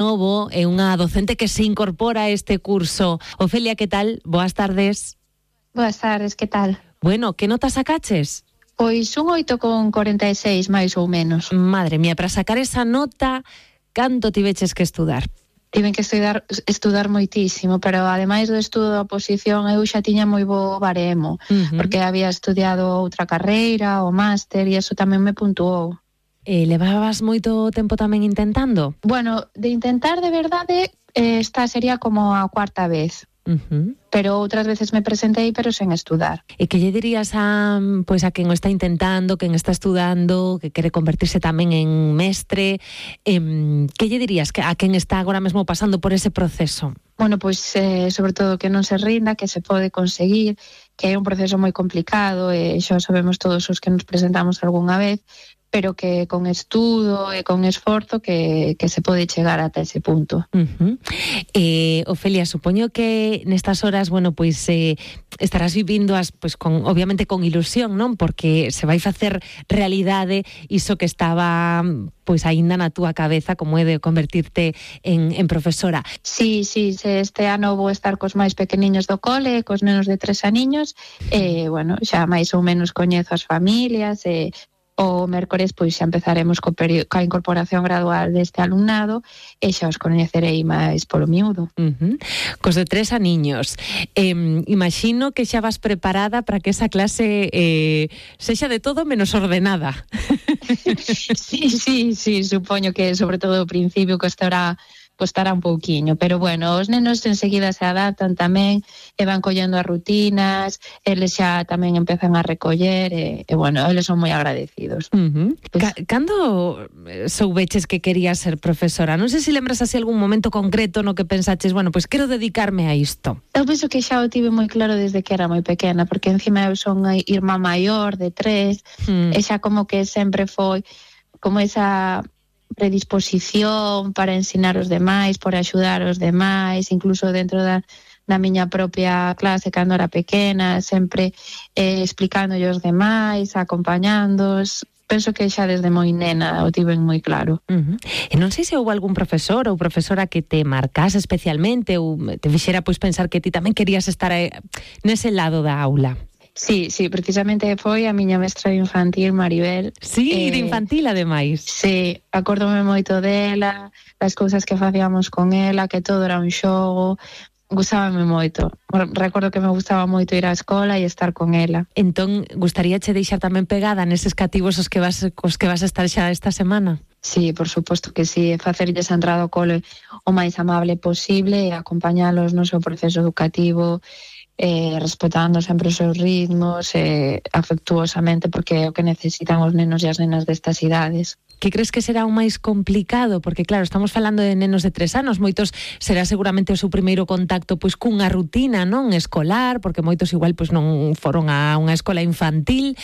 Novo é unha docente que se incorpora a este curso. Ofelia, que tal? Boas tardes. Boas tardes, que tal? Bueno, que notas sacaches? Pois un 8,46, máis ou menos. Madre mía, para sacar esa nota, canto tiveches que estudar? Tiven que estudar moitísimo, pero ademais do estudo da oposición eu xa tiña moi bo baremo, porque había estudiado outra carreira, o máster, e eso tamén me puntuou. Levabas moito tempo tamén intentando? Bueno, de intentar de verdade, esta sería como a cuarta vez. Pero outras veces me presentei, pero sen estudar. E que lle dirías a quen o está intentando, quen está estudando, que quere convertirse tamén en mestre, que lle dirías a quen está agora mesmo pasando por ese proceso? Bueno, pois sobre todo que non se rinda, que se pode conseguir, que é un proceso moi complicado, e xa sabemos todos os que nos presentamos algunha vez, pero que con estudo e con esforzo que se pode chegar ata ese punto. Ofelia, supoño que nestas horas, bueno, pois estarás vivindo obviamente con ilusión, non? Porque se vai facer realidade iso que estaba pois aínda na túa cabeza, como é de convertirte en profesora. Sí, este ano vou estar cos máis pequeniños do cole, cos nenos de 3 aniños, bueno, xa máis ou menos coñezo as familias, o mércores pois xa empezaremos coa incorporación gradual deste alumnado e xa os coñecerei máis polo miúdo. Cos de 3 aniños. Imagino que xa vas preparada para que esa clase sexa de todo menos ordenada. Sí, supoño que sobre todo ao principio costará un pouquiño, pero bueno, os nenos enseguida se adaptan tamén e van collendo as rutinas, eles xa tamén empezan a recoller e bueno, eles son moi agradecidos. Cando soubeches que querías ser profesora? Non sei se lembras así algún momento concreto no que pensaches, bueno, pois quero dedicarme a isto. Eu penso que xa o tive moi claro desde que era moi pequena, porque encima eu son a irmá maior de 3, e xa como que sempre foi como esa predisposición para ensinar os demais, por axudar os demais, incluso dentro da miña propia clase cando era pequena, sempre explicándolle os demais, acompañándoos. Penso que xa desde moi nena o tiven moi claro. E non sei se houve algún profesor ou profesora que te marcase especialmente ou te fixera pois pensar que ti tamén querías estar nese lado da aula. Sí, precisamente foi a miña mestra de infantil, Maribel. Sí, de infantil, ademais. Sí, acórdome moito dela, das cousas que facíamos con ela, que todo era un xogo, gustábame moito. Recordo que me gustaba moito ir á escola e estar con ela. Entón, gustaríache deixar tamén pegada neses cativos cos que vas a estar xa esta semana? Sí, por suposto que sí, facerlles a entrada ao cole o máis amable posible e acompañalos no seu proceso educativo, respetando sempre os seus ritmos, afectuosamente, porque é o que necesitan os nenos e as nenas destas idades. Que crees que será o máis complicado? Porque claro, estamos falando de nenos de 3 anos, moitos será seguramente o seu primeiro contacto pois cunha rutina, non, escolar, porque moitos igual pois non foron a unha escola infantil.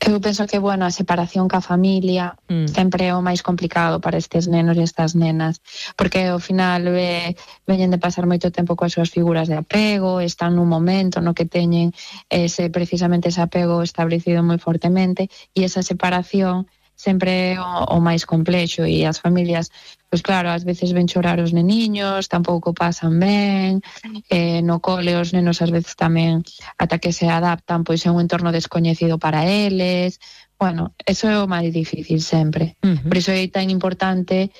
Eu penso que, bueno, a separación ca familia sempre é o máis complicado para estes nenos e estas nenas, porque ao final veñen de pasar moito tempo coas súas figuras de apego, están nun momento no que teñen precisamente ese apego establecido moi fortemente, e esa separación sempre é o máis complexo, e as familias, pois claro, ás veces ven chorar os neniños, tampouco pasan ben, no cole os nenos ás veces tamén, ata que se adaptan, pois é un entorno descoñecido para eles. Bueno, eso é o máis difícil sempre. Por iso é tan importante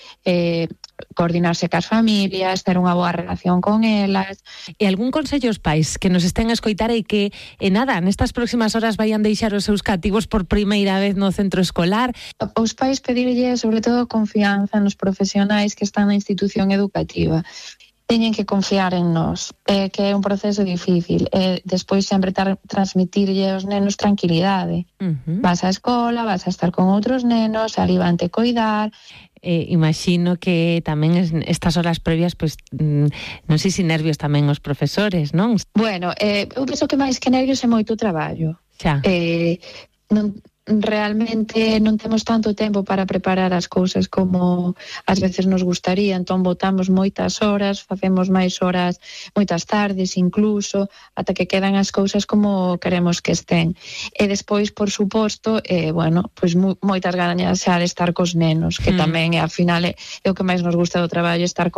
coordinarse cas familias, ter unha boa relación con elas. E algún consello aos pais que nos estén a escoitar e que, nestas próximas horas vayan deixar os seus cativos por primeira vez no centro escolar? Os pais pedirlle, sobre todo, confianza nos profesionais que están na institución educativa. Teñen que confiar en nós, que é un proceso difícil, despois sempre transmitirlle aos nenos tranquilidade. Vas á escola, vas a estar con outros nenos, ali van te coidar. Imagino que tamén estas horas previas, pois non sei se nervios tamén os profesores, non? Bueno, eu penso que máis que nervios é moito traballo. Xa. Realmente non temos tanto tempo para preparar as cousas como ás veces nos gustaría, entón botamos moitas horas, facemos máis horas, moitas tardes incluso, ata que quedan as cousas como queremos que estén. E despois, por suposto, bueno, pois moitas ganas xa de estar cos nenos, que tamén, ao final, é o que máis nos gusta do traballo, estar con